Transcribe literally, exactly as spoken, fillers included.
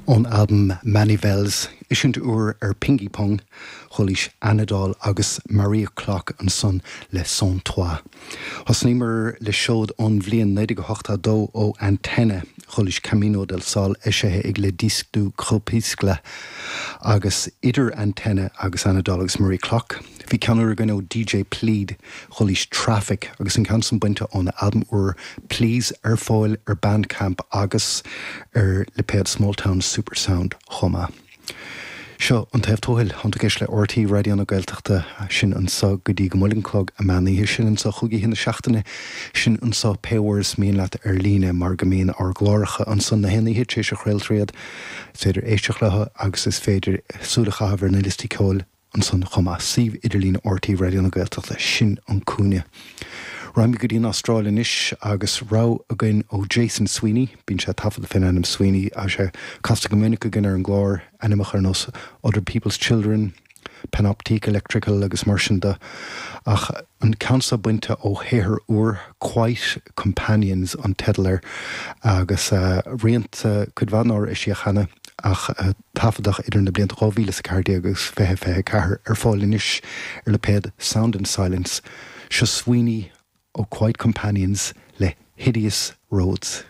Ón albam Manivelles, eisiúint úr ar Pingy Pong, chualaís Anadol agus Maria Clock ansan le Sans Toi. Thosnaíomar le seod ón bhliain naoi déag ochtó dó ó Antenna, chualaís Camino del Sol eisithe ag Les Disques du Crépuscule agus idir Antenna agus Anadol agus Maria Clock. Bhí ceann úr againn ó DJ Plead, chualaís Traffic agus an ceann san bainte óna albam úr Please ar fáil ar Bandcamp agus ar lipéad Smalltown Supersound chomh maith. Seo an taobh tuathail tá tú ag éisteacht le RTÉ Raidió na Gaeltachta sin anseo go dtí go mbuailfidh an clog an meán oíche sin anseo chúig oíche na seachtaine sin anseo pé uair is mian leat ar líne mar go mbíonn ár gcláracha ansan na haon oíche tar éis a chraoltar iad. Is féidir éisteacht leo agus is féidir súil a chaitheamh ar na liostaí ceoil ansan chomh maith suíomh idirlín RTÉ Raidió na Gaeltachta sin an cúinne. Raghaimid go dtí an Astráil anois agus rogha againn ó Jason Sweeney, bíonn sé taifeadta faoin ainm Sweeney a sé casta go minic againn ar an gclár ainmneacha ar nós Other People's Children, Panoptique Electrical agus mar sin de ach an ceann seo bainte ó shaothar úr Quiet Companions an teideal air agus uh, rianta cuid mhaith nár eisíodh cheana ach uh, taifeadadh idir na blianta dhá mhíle is a ceathair déag agus fiche fiche ceathair ar fáil anois ar lipéad Sound and Silence seo Sweeney ó Quiet Companions le Hideous Roads.